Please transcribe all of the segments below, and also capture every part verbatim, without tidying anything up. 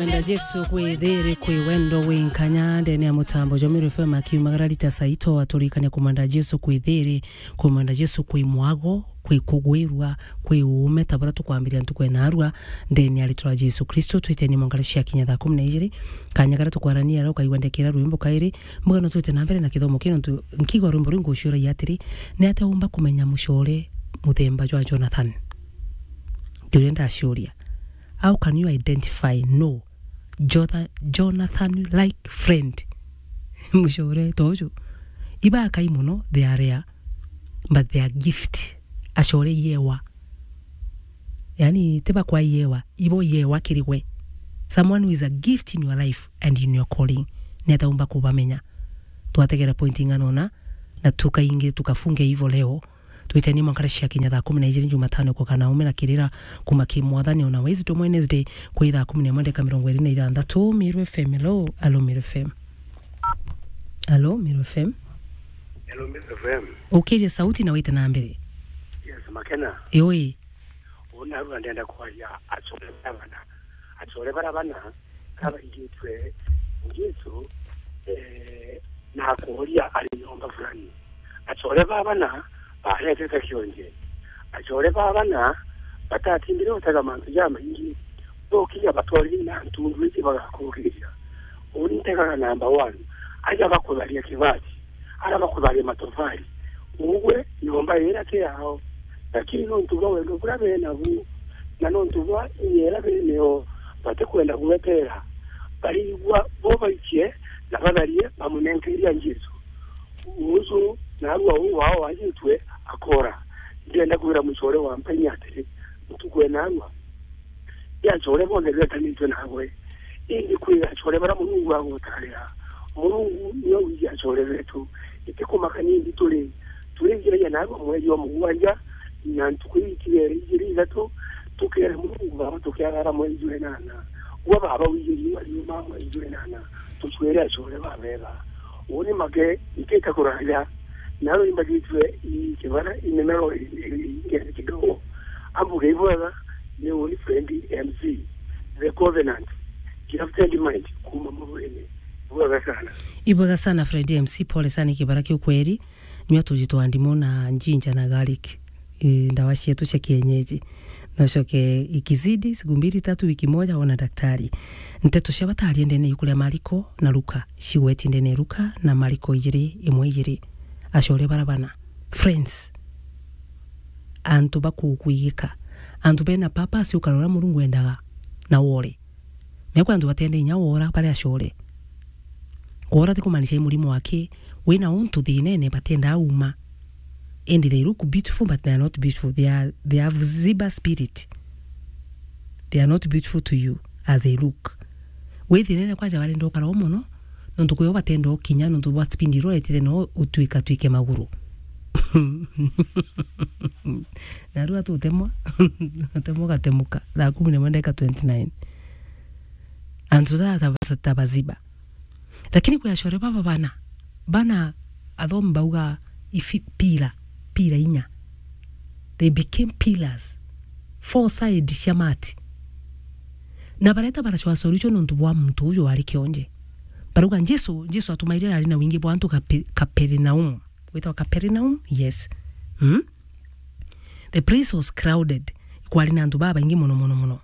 Kumwenda Jesu kwi thiri, kwi wendo, wi nkanya. Ndene ya mutambo jwa Meru F M akiumagara rita saito, aturikania kumwenda Jesu kwi thiri, kumwenda Jesu kwi mwago, kwi kugwirua, kwi uume, ta buria tukwambiria ntuku ya narua, ndene ya ritwa ria Jesu Kristo. Twiteni mwanka cia kinya thaa kumi na ijiri, kanya karia tukwarania aro ukaigua ndekera rwimbo kairi, mbuga no twite na mbere na kithomo kino. Ntu-, nkigwa rwimbo ruu nguciuragia atiri, ni atia umba kumenya mucore muthemba jwa Jonathan? Ndio ndaciuria. How can you identify no Jotha-, Jonathan like friend? Mucore ta uju. Iba akai mono, they are rare, but they are gift. Acore iewa. Yani, tiba kwa iewa, ibo iewa kiri gwe. Someone who is a gift in your life and in your calling. Ni atia umba kubamenya? Twategera point ing'ana ona, na tukaingi, tukafunge hivyo leo. Twiteni mwanka cia kinya thaa kumi na ijiri Jumatano kukana ume na kirira kuma ki Mwathani ona Wednesday, Wednesday kwi thaa kumi na imwe ndeka mirongo iri na ithanthatu. Meru F M, hello. Hello, Meru F M. Hello, Meru F M. Hello, Meru F M. Ukirie sauti na wite na mbere. Yes, Makena. Yoi. Uuna arua ndenda kwaria acore bara bana. Acore bara bana, kabaigitwe Jesu, eh, na akuuria ari nyomba fulani. Acore ba bana baretete kionje. Acore ba bana batatindire gutega mantu jamaingi. Bokinya batwarire na ntundu iji bagakuukiria. Uni ntegaga number one. Aja bakutharia kibati. Ara bakutharia matofali. Ugwe nyomba ira ti yao. Lakini nontu bwa wendo buria benabu, na nontu bwa inya iria beneo, batikwenda gwetera, barigua bo baikie na batharie bamunenkeria Jesu. Uju narua uu wao wajitwe akora. Ndienda kwira mucore wa Mpenya atiri, ntuku enarua, ti acore bonthe betanitwe nagwe. Indi kwi acore bara Murungu agutarira. Murungu niwe wiji acore betu. Itikumaka nindi turi, turi njiragia narua mweri wa mugwanja, na ntuku itigere ijiri ithatu, tukere Murungu Baba tukiagara mweri jwa inana. Gwa Baba wiji riua riuma mweri jwa inana, tucwere acore babega. Uni make, nkita kuraja, naro imbagitwe i kibara, i nimero i, i, i, i kidogo. Ambuge ibwega, ni uni friend M C, The Covenant, Gifted Mind, kuma Muruini. Ibwega sana. Ibwega sana, friend M C, pole sana, ikibara kiu kweri. Nyua tuji twa ndimu na njinja na garlic. I, ndawa cietu cia kienyeji. Na ucoke ikizidi siku mbili tatu, wiki moja, ona daktari. Nteto cia bata aria ndene yuku ria Mariko na Luka, cigweti ndene Luka na Mariko ijiri, imwe ijiri. Acore bara bana. Friends. Antu bakukwigika. Antu bena purpose, ukara uria Murungu endaga na wore. Mea kwi antu batenda inya wora bari acore. Kwora ti kumaanisha i murimo aki, wina untu thinene batenda uma. And they look beautiful, but they are not beautiful. They are, they have Ziba spirit. They are not beautiful to you as they look. Wi thinene kwanja barenda ukara o mono, nontu kwio batenda ukinya, nontu bwa speed iria uretire no utwika twike maguru. Narua tutemwa, utemwa ugatemuka. Thaa kumi na imwe ndeka twenty-nine. Antu ta, ta, ta Baziba. Lakini kwi acore baba bana, bana athomi bauga ifi-, pila, pila inya. They became pillars. Four side cia mati. Na bareta baracwa solution nontu bwa muntu uju wari kionje. Barauga Jesu, Jesu atumaire ari na wingi bwa antu Kape-, Kaperinaumu. Gwitwa Capernaum? Yes. Mm? The place was crowded. Kwari na antu babaingi mono, mono, mono.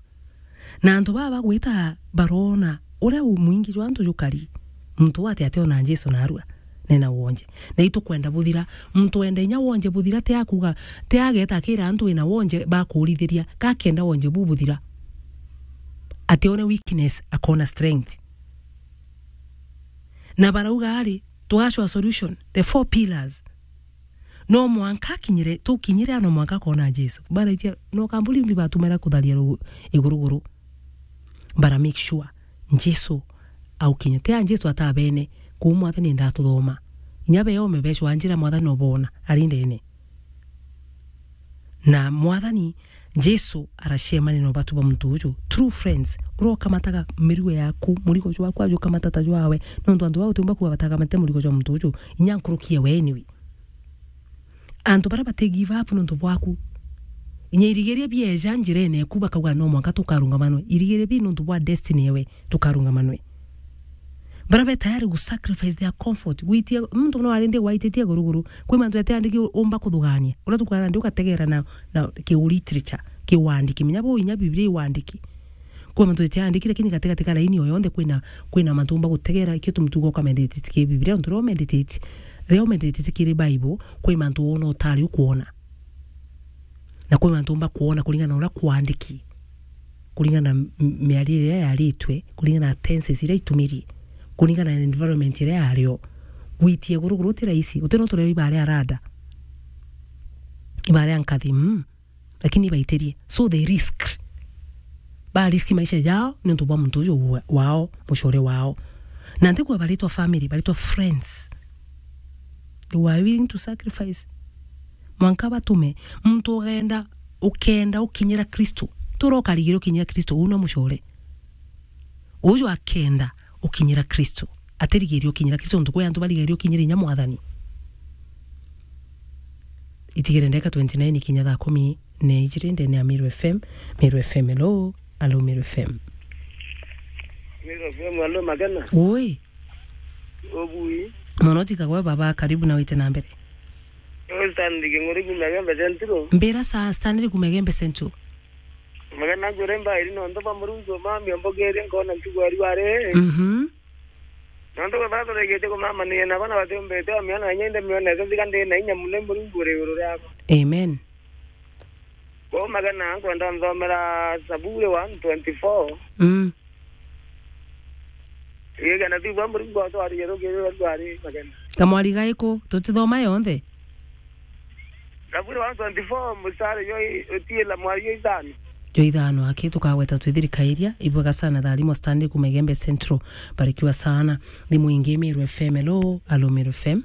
Na antu baba bagwita barona uria u-, mwingi jwa antu jukari. Muntu uu ati ationa Jesu narua, nena wonje. Na itukwenda buthira. Muntu wenda inya wonje buthira, ti akuga, ti ageta akira antu wina wonje bakurithiria. Kakenda wonje bu buthira. Atione weakness, akona strength. Na barauga ari, tugacwa solution, the four pillars. No mwanka akinyire, tukinyire, no mwanka kona Jesu. Baraitia, no kamburi ndi batumira kutharia ru-, iguruguru. Bara make sure Jesu aukinya. Tia Jesu atabene, kuu Mwathani ndatuthoma. Inya be ome becwa njira Mwathani obona, ari ndene. Na Mwathani Jesu aracemania na ubatu bwa muntu uju. True friends, uria ukamataga mirigo yaku, murigo jwaku ajukamata ta jwawe. Nontu antu bau utiumba kuuga batakamate murigo jwa muntu uju, inya nkuruki ewe anyway. Antu baria bati give up nontu bwaku. Inya irigiria bieja njirene eku bakauga, "No mwanka tukarungamanwe." Irigiria bi nontu bwa destiny ewe, tukarungamanwe. Bara be tayari gu sacrifice their comfort. Gwitia, muntu no arindi waititie guruguru. Kwi mantu ete andiki umba kuthugania. Ura tukana ndi ugategera na, na ki literature, ki wandiki. Menya bo inya Biblia i wandiki. Kwi mantu ete andiki, lakini gatigati ka laini o yonthe kwina, kwina mantu umba gutegera, ikio tumutugo ka meditate ki Biblia, ntu rio meditate, rio meditate kiri Bible, kwi mantu wona utari ukwona. Na kwi mantu umba kwona kuringana na uria kwandiki, kuringana na m-, miario iria yaritwe, kuringana na tenses iria itumiri, kuringana na environment iria yario. Gwitia guruguru ti rahisi, uti no turia ibare arada. Ibare ankathi, mm. Lakini baitirie. So they risk. Ba risk maisha jao niuntu bwa muntu uju wa-, wao, mucore wao. Na ntigwa baritwa family, baritwa friends. They were willing to sacrifice. Mwanka batume, muntu ugenda, ukenda ukinyira Kristo. Tura ukarigire ukinyira Kristo, uu no mucore. Uju akenda ukinyira Kristo. Atirigirie ukinyira Kristo, ntuku ya antu barigirie ukinyira inya Mwathani. Itigire ndeka twenty nine ikinya thaa kumi na ijiri ndene ya Meru F M. Meru F M, hello. Hello, Meru F M. Meru F M, hello, Magena. Ui. Obui. Mono tikagwe baba, karibu na wite na mbere. Stanley King'ori kuma Igembe Central. Mbira sa Stanley kuma Igembe Central. Magena ngwire mbairi nontu bwa Murungu mami ombogerie nkona ntuku ari wari. Mhm. Nontu baba turegetie kumamania na bana batiumbite o miona inya inde miona ete thiga ndi na inya muno Murungu uri iguru riakwa. Amen. Bo Magena nkwenda nthomera Zaburi one twenty-four. Mm. Igana thiu bwa Murungu atwarire rugiri rwa rwari Magena. Kamwari gaiku tutithoma yonthe. Zaburi one twenty-four, mstari yo i-, utiila mwari yo ithano. Yo ithano, aki tukagweta twithirikairia, ibwega sana tharimo Stanley kuma Igembe Central, barikiwa sana. Thimu ingi Meru F M, hello, hello Meru F M.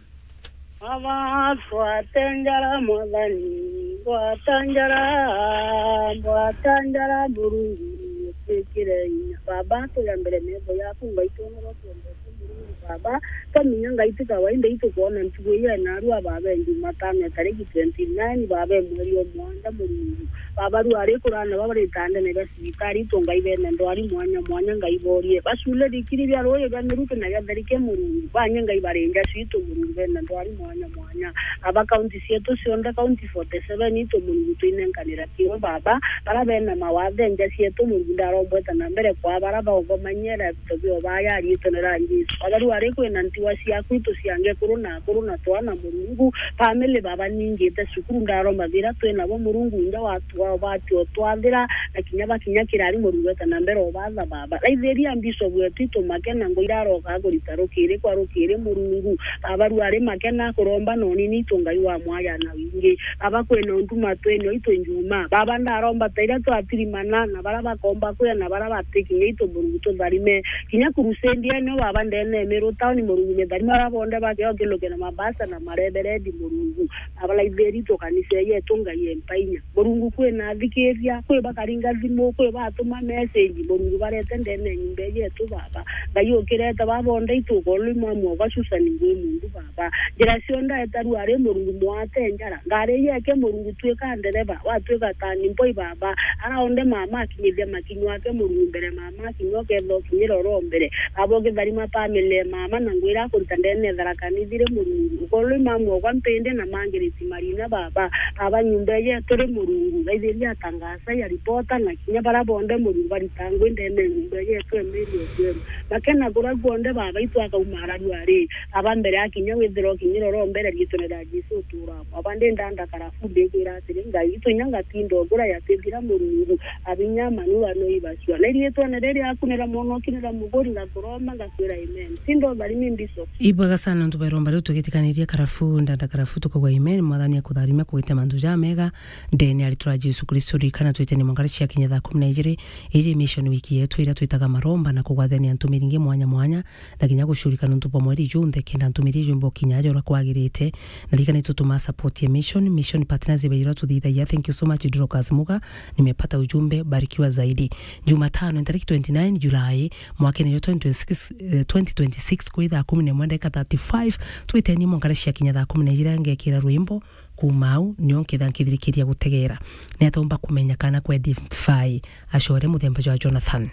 Baba, twatenjara Mwathani, twatenjara, twatenjara Murungu, twikire inya. Baba, tuya mbere metho yaku, Ngai, twonere twendete Murungu, Baba, twaminya Ngai ti kawaida itukwona ntuku ii ya narua, Baba, e Jumatano ya tariki twenty nine, Baba, e mweri o mwanja, Murungu. Baba, riu ari kurana baba ritandene ria cibitari, itu Ngai bena ndwari mwanya mwanya, Ngai borie. Bacule thikiri bia ruuji bia miruki na githerike, Murungu. Banye Ngai barinja citu, Murungu, bena ndwari mwanya mwanya. Baba, kaunti cietu cionthe, kaunti forty seven itu, Murungu, twinenkanira kiu, Baba. Bara bena mawathe nja cietu, Murungu, ndarombweta na mbere kwa bara baugomanyera. Tobio baya riitwa ni ria Jesu. Baba, riu ari kwina ntiwa ciaku, itu ciange kuru na akuru na twana, Murungu. Family, Baba, ningite cukuru, ndaroma thira twinabo, Murungu, nja wa, wa, watio twathira, na kinya bakinya kirari, Murungu, eta na mbere obatha, Baba. Raithiria Bishop wetu, itu Makena, ngo iraroka kurita rukiri kwa rukiri, Murungu. Baba, riu ari Makena kuromba noni, ni itu Ngai wa mwaya na wingi. Baba, kwina untu matwene oitu njuma. Baba, ndaromba ta iria twatirimana, na bara bakomba kwia, na bara batikinya itu, Murungu, tutharime. Kinya crusade eno, Baba, ndene Meru town, Murungu, mitharime bara bonde bakeo kiluke na mabasa na mareberendi, Murungu. Baba, laithiri tu kanisa yetu, Ngai empa inya. Murungu, kwina athikiria, kwi bakaringa thimu, kwi batuma message, Murungu, barete ndene nyumba yetu, Baba. Ngai ukirete, Baba, bonde itu ukolwi mwamu wa Susan ngwi mundu, Baba. Njira cionthe eta riu ari Murungu mwate njara. Ngari yeke Murungu twika ndereba, watwika tani mboi Baba. Ara onde mama akinyithia makinywa ake Murungu mbere mama akinywa ketho kinyira oro mbere. Baba ukitharima family mama na ngwira akurita ndene thara kanithire Murungu. Ukorwe mamu okwa mpinde na mangiriti marina Baba. Baba nyumba yetu ri Murungu. Raithiria atangaza ya ripota na kinya bara bonde Murungu baritangwe ndene nyumba yetu emeri okwenu. Makena kura kuonde Baba itu akaumara riu ari. Aba mbere akinya withira ukinyira oro mbere riitwene ria Jesu utura. Aba ndi ndanda karafu ndikwira atiri, Ngai itu inya ngatinda ugura yatithira Murungu, abinya manura no ibacua. Na riitwene riria akunira mwono ukinira muguri ngakuromba ngakwira amen. Tinda utharimi mbiso. Ibwega sana ntu bairomba riu tugitikaniria karafu, ndanda karafu tukauga amen. Mwathani akutharime kugite mantu jamega. Ndene aritwa Jesu Kristo ririkana twite ni mongari cia kinya thaa kumi na ijiri. Iji mission week yetu iria twitaga maromba na kugwathania ntumiri ingi mwanya mwanya. Na kinya gucurika nontu bwa mweri junthe, kenda ntumiri iu imba ukinya aja uria kwagirite. Na ririkana itutuma support ya mission, mission partners iba iria tuthithagia. Thank you so much, Dorcas Muga. Nimepata ujumbe, barikiwa zaidi. Jumatano, ntariki twenty nine Julai, mwakene jwa twenty twenty-six, eh, twenty twenty-six, kwi thaa kumi na imwe ndagika thirty-five, twiteni mwankara cia kinya thaa kumi na ijiri, ngekira rwimbo. Kuuma au, nio nketha nkithirikiria gutegera. Ni atomba kumenya kana ku identify acore muthemba jwa Jonathan.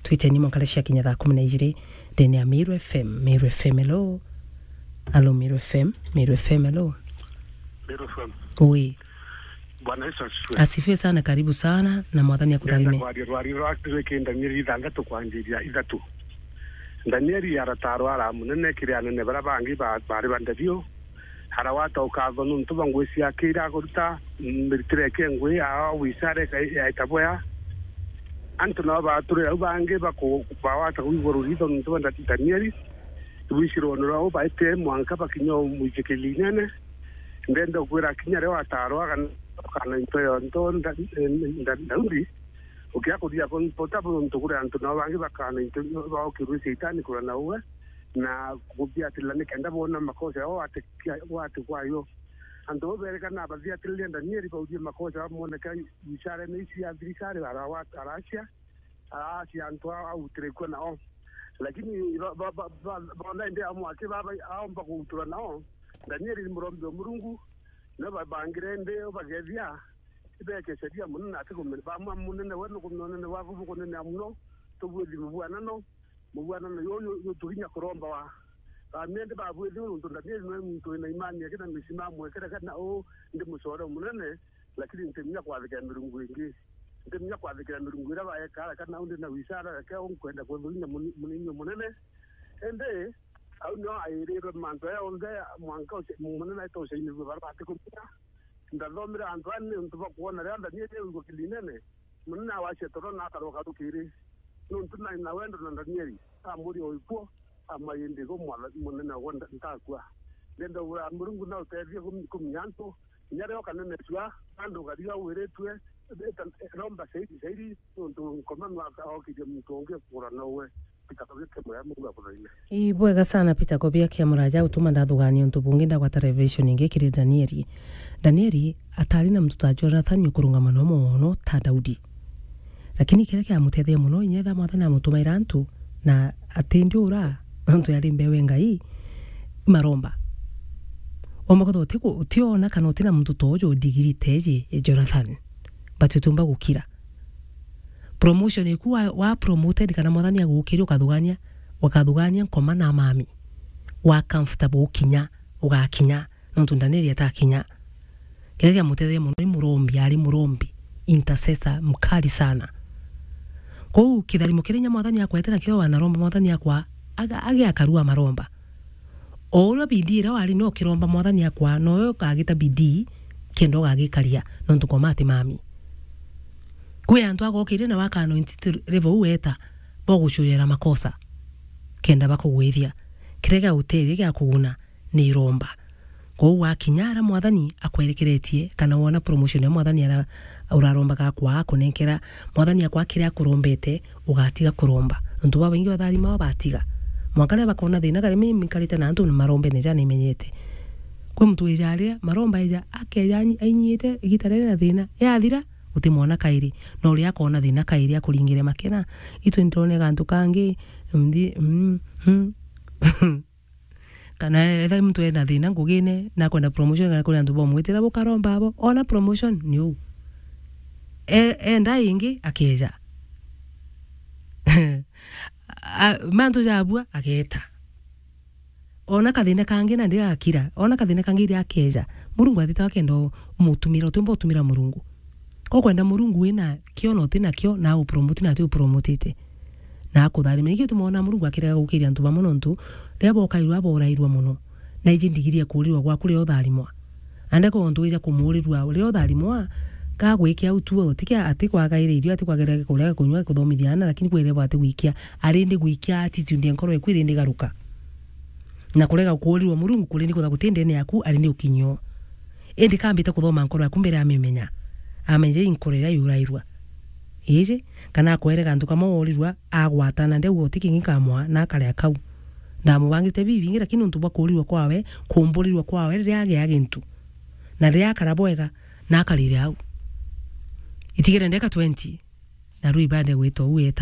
Twiteni mwankare cia kinya thaa kumi na ijiri ndene ya Meru F M. Meru F M, hello. Hello, Meru F M. Meru F M, hello. Meru F M. Oi. Bwana Yesu asifiwe. Asifiwe sana, karibu sana, na Mwathani akutharime. Ndenda kwaria rwari rwa Akristo rwiki Danieli ithanthatu kwanjiria ithatu. Danieli arataarwa ara munene kiri anene bara bangi ba-, bari ba nderio. Arawata ukatho nuntu bwa ngui ciake iria akuruta, miritire yake ngui, aa wicara ika-, yaita bwea. Antu nao baturire au bangi baku-, bawata kwigua ruritho nuntu bwa Nda-, Danieli. Rwicirone rwao baite mwanka bakinya o mwijikiri inene. Ndenda kwira kinya rio ataarwa kana, kana into yonto nda-, nda-, Daudi, ukia kuria bo-, bota bo nuntu kuri antu nao bangi bakana into baokirwe Shaitani kurana uwe, na kuthiatira nikenda boona makosa yao wati kia-, wati kwayo. Antu bo berekana bathiatiririe Danieli baurie makosa yao moneka icarene ici ya thirikari, arawa-, aracia, aracia antu a-, autire kuo nao. Lakini ba-, ba-, ba-, ba-, bona indi amwe aki baba aomba kuutura nao, Danieli ni murombi wa Murungu, no babangire indi bagethia, ibekeceria munene ati kumenya, bamwa munene we nukumenya unene waku bukunenea muno, tubwithi mubwanano, mubwanano yo, yo, yo tuginya kuromba wa. Bamia indi babwithi nuntu Danieli ni muntu wina imani yake na misima amwekere kana u ndi mucore munene, lakini ntimenya kwathikira mirungu ingi. Ntimenya kwathikira mirungu iria baekaga kana u ndi na wicara yake au nkwenda kwithugina muni-, munini munene. Indi au nio airirwe mantu aya onthe mwanka uci-, munene aita ucainirue bara batikumenya. Ndathomire antu aa niuntu bwa kwona riria Danieli aigua kirinene, munene awacia toro na akaroka rukiri. Niuntu nari na wendo na Danieli, amuria uikuo, amwaa indi igo mwana, munene ogwe nda-, ntakua. Ndenda ura Murungu na utethie kumi-, kumenya antu, kinya riria ukanenecua, andu ukariga wiritue, eta-, romba sairi, sairi, niuntu nkoma nwaka okirie muntu ungi kugura nowe. Peter Kobia kia Muraya, Murungu akuthaime. Ii, bwega sana Peter Kobia kia Muraya, utuma ndathugania untu bungi ndagwata revelation ingi kiri Danieli. Danieli atari na muntu ta Jonathan ukurungama no mono ta Daudi. Lakini kiria kiamutethia muno, inya etha Mwathani amutumaira antu, na ati ndi ura, nontu yari mbeu e Ngai, maromba. Omba kwithirwa uti ku-, utiona kana uti na muntu ta uju digiri ta iji, e Jonathan. But utiumba gukira. Promotion iku wa, wa promoted kana Mwathani agukiria ukathugania, ukathugania nkoma na mami. Wa comfortable ukinya, ugakinya, nontu Danieli atakinya. Kiria kiamutetheria muno ni murombi, ari murombi, intercessor mkali sana. Kou kitharimo kiria inya Mwathani akwete nakio wanaromba Mwathani akwa, aga-, age akarua maromba. O uria bidii iria wari no kiromba Mwathani akwa, noyo ukagita bidii kenda ugagikaria, nontu nkoma ati mami. Kwi antu agokirie na waka anointed level u weta, bogucuyera makosa, kenda bakugwithia. Kiria gia utethia gia kuguna ni iromba. Kwou wakinya ara Mwathani akwerekeretie, kana wona promotion ya Mwathani ara urarombaga akwa akunenkera, Mwathani akwa kiria akurombete, ugatiga kuromba. Nontu babaingi batharima batiga. Mwanka riria bakona thina, kari mimi nkarite na antu marombene jana imenyete. Kwi muntu wija aria, maromba eja, akeja anyi-, ainyiite igita riri na thina. Yathira, utimwona kairi. No uria akona thina kairi akuringire makena. Itu ndirone gantu kangi, mthi-, mm, mm. Kana etha muntu ena thina ngugine, na akwenda promotion, kana kuri antu bomwitira bukaromba abo, ona promotion ni uu. E-, enda ingi, akeja. A-, mantu jabua, ageta. Ona kathina kangi nandi gagakira, ona kathina kangi iria akeja. Murungu atitawa kenda umutumira, utiumba utumira Murungu. Ukwenda Murungu wina kio na uti nakio, na agupromote na ati upromotete. Na akutharima. Nikio tumoona Murungu akirega gukiria antu bamwe nontu riria bokairwa, borairwa mono. Na iji ndigiri ya kuurirwa gwaku riria utharimwa. Ande ko ontu wija kumuurirwa riria utharimwa, kagwikia au tu, tikia ati kwagaire irio, ati kwagaire kuria, kunywa, kuthomithia ana, lakini kwirebo ati gwikia, ari ndi gwikia attitude ya nkoro eku iri ndi garuka. Na kurega kuurirwa Murungu kuri ni kutha guti ndene yaku, ari ni ukinyio. Indi kambite kuthoma nkoro yaku mbere amimenya. Amenye i nkoro iria yurairwa. Iji, kana akwere gantu kamwe worirwa, agwatana, ndauga uti kingi kamwa, na akaria kau. Ndamubangite bibingi, lakini nontu bwa kuurirwa kwawe, kumburirwa kwawe, riria agia gintu. Na riria akara bwega, na akarire au. Itigire ndeka twenty, na ruu ibande gwitwa uu eta